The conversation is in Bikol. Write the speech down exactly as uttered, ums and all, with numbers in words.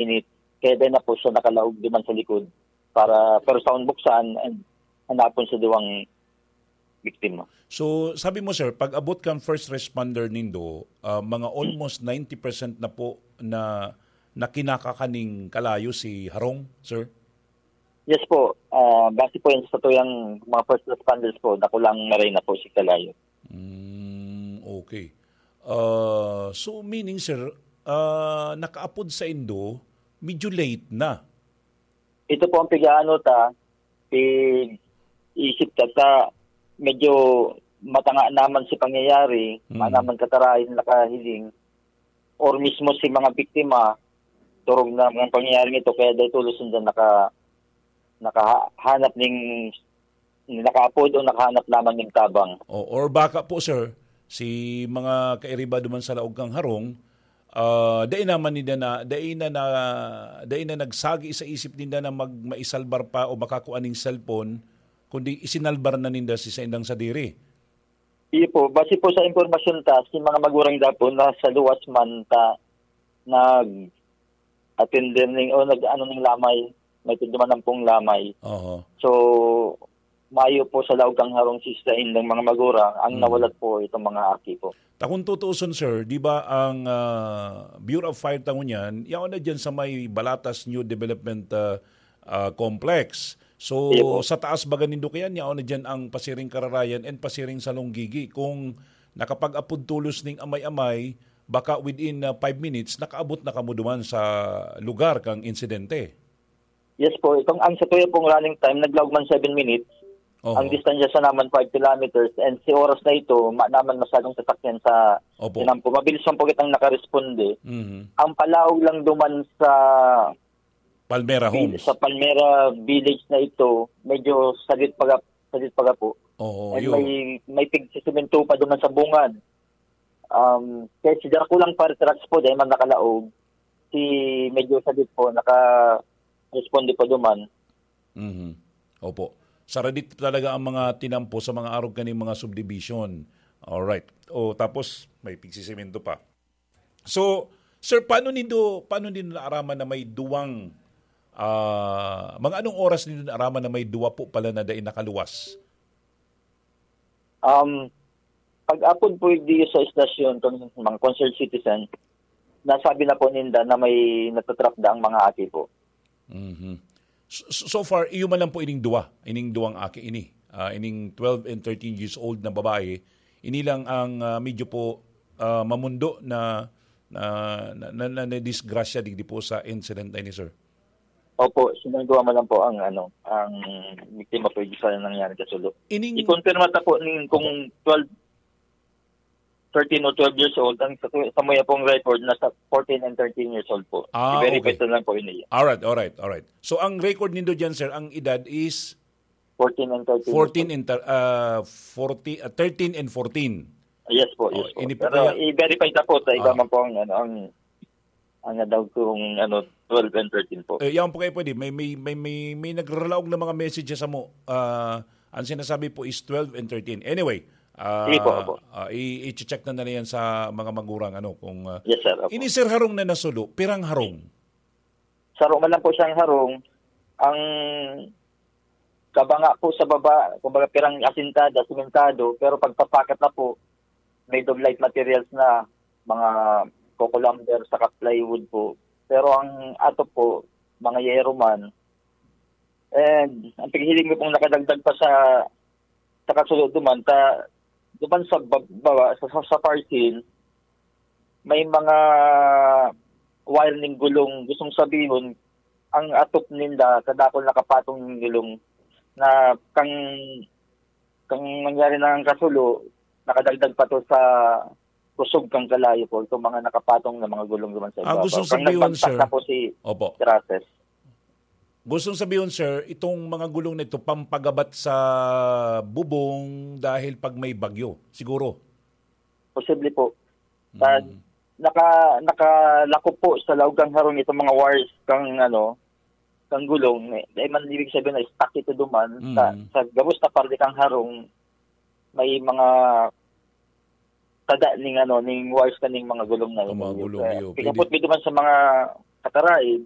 init. Kaya dai na po siya nakalaog duman sa likod para, pero sa buksan, and hanapon sa duwang biktima. So, sabi mo, sir, pag abot kan first responder nindo, ah, mga almost ninety percent na po na, na kinakakaning kalayo si Harong, sir? Yes po. Ah, base po yan sa tuyang mga first responders po, dakulang maray na po si kalayo. Mm, okay. Ah, so, meaning, sir, ah, nakaapod sa indo, medyo late na. Ito po ang pig-aano ta, pig-isip ta, ta medyo matanga naman si pangyayari, Mm. manaman katarayan nakahiling, or mismo si mga biktima, turog na mga pangyayaring ito, kaya dahil tulos nila naka-, nakahanap ning, nakaapod o nakahanap lamang ning tabang. O, or baka po, sir, si mga kairiba duman sa laog kang harong, ah, dai naman ninda na, dai na, na, dai na nagsagi sa isip ninda na mag-, maisalbar pa o makakua ning cellphone, kundi isinalbar na ninda si saindang sadiri. Iyo po, base po sa impormasyon ta, si mga magurang dapo nasa luwas man ta nag-atender ning, o nag-ano ning lamay, may tinduman pong lamay. Oho. So, mayo po sa laog kang harong si saindang mga magurang, ang Hmm. nawalat po itong mga aki po. Ta kung tutuuson, sir, di ba ang, ah, Bureau of Fire ta ngunyan, yaon na dyan sa may Balatas New Development, ah, ah, Complex. So, Iya po. sa taas baga nindo kayan, yaon na dyan ang pasiring kararayan and pasiring salonggigi. Kung nakapag-apod tulos ning amay-amay, baka within, ah, five minutes, nakaabot na kamo duman sa lugar kang insidente. Yes po, itong ang sa tuya pong running time, naglaog man seven minutes. Oho. Ang distansya sa naman five kilometers, and si oras na ito, ma-, naman masyadong sasakyan sa Opo. tinampo. Mabilis man po kitang nakaresponde. Mhm. Ang palaog lang duman sa Palmera Vil-, Homes. sa Palmera Village na ito, medyo saglit paga-, saglit paga po. Oo, And yun. may, may pigsisimento pa duman sa bungad. Um, kaya si Draco lang fire trucks po, dahil man nakalaog. Si medyo saglit po, naka-responde po duman. Mhm. Opo. Saradit talaga ang mga tinampo sa mga arog kaning mga subdivision. Alright. O, tapos may pigsisemento pa. So, sir, paano nindo, paano nindo naaraman na may duwang, ah, mga anong oras nindo naaraman na may duwa po pala na dai nakaluwas? Um, pag-apod po di sa estasyon, kung mga concerned citizen, nasabi na po ninda na may natatrap daang mga aki po. Mhm. So, so, so far, iyo man lang po ining duwa, ining duwang aki ini. Ah, ining twelve and thirteen years old na babae, ini lang ang, ah, medyo po, ah, mamundo na, na, na, na, na, nadisgrasya digdi po sa incident na ini, sir. Opo, sinong duwa man lang po ang, ano, ang biktima po, yung isa na nangyari sa sulo. Ining I-confirm ta po ning kung Opo. twelve, thirteen o twelve years old, ang sa, sa muya pong record, nasa fourteen and thirteen years old po. Ah, I-verify okay. ko lang po yun, eh. Alright, alright, alright. So, ang record nindo dyan, sir, ang edad is Fourteen and thirteen years fourteen old. and thir-, ah, forty, ah, thirteen and fourteen. Yes po, yes Oh, po. ini po Pero kaya i-verify ta po sa iba Ah. man po ang, ano, ang, ang daw kung, ano, twelve and thirteen po. Eh, yan po kayo pwede. May, may, may, may, may nagralaog na mga messages sa mo. Ah, ang sinasabi po is twelve and thirteen. Anyway, ah, Sige po, opo. ah, i-, i-check na nila yan sa mga magurang, ano, kung, ah, Yes, sir. Opo. Ini, sir, harong na nasulo, pirang harong? Saro man lang po siyang harong. Ang kabanga po sa baba, kumbaga, pirang asintada, simentado, pero pagpapakat na po, made of light materials na, mga coco lumber saka plywood po. Pero ang atop po, mga yero man. And ang paghiling mo pong nakadagdag pa sa, sa kasulod duman, ta, duman sa bab-, baba, sa, sa, sa parcel, may mga wire ning gulong. Gustong sabihon, ang atop ninda, kadakol nakapatong ning gulong na kang, kang nangyari na ang kasulo, nakadagdag pa to sa kusog kang kalayo po, itong mga nakapatong na mga gulong duman sa Ah, ibabaw. gustong Kang sabihin, nagbagsak sir. na po si Opo. Grates. Gustong sabihin, sir, itong mga gulong na ito, pampagabat sa bubong dahil pag may bagyo, siguro? Posible po. Pag Mm. naka-, nakalakop po sa laog kang harong itong mga wires kang, ano, kang gulong, eh, dahil man ibig sabihin na stuck ito duman, sa, Mm. sa gabos na parte kang harong, may mga tada ning, ano, ning wires kaning mga gulong na Ang mga yun. gulong, Kaya, iyo. pikapot Pwede. mi duman sa mga kataraid,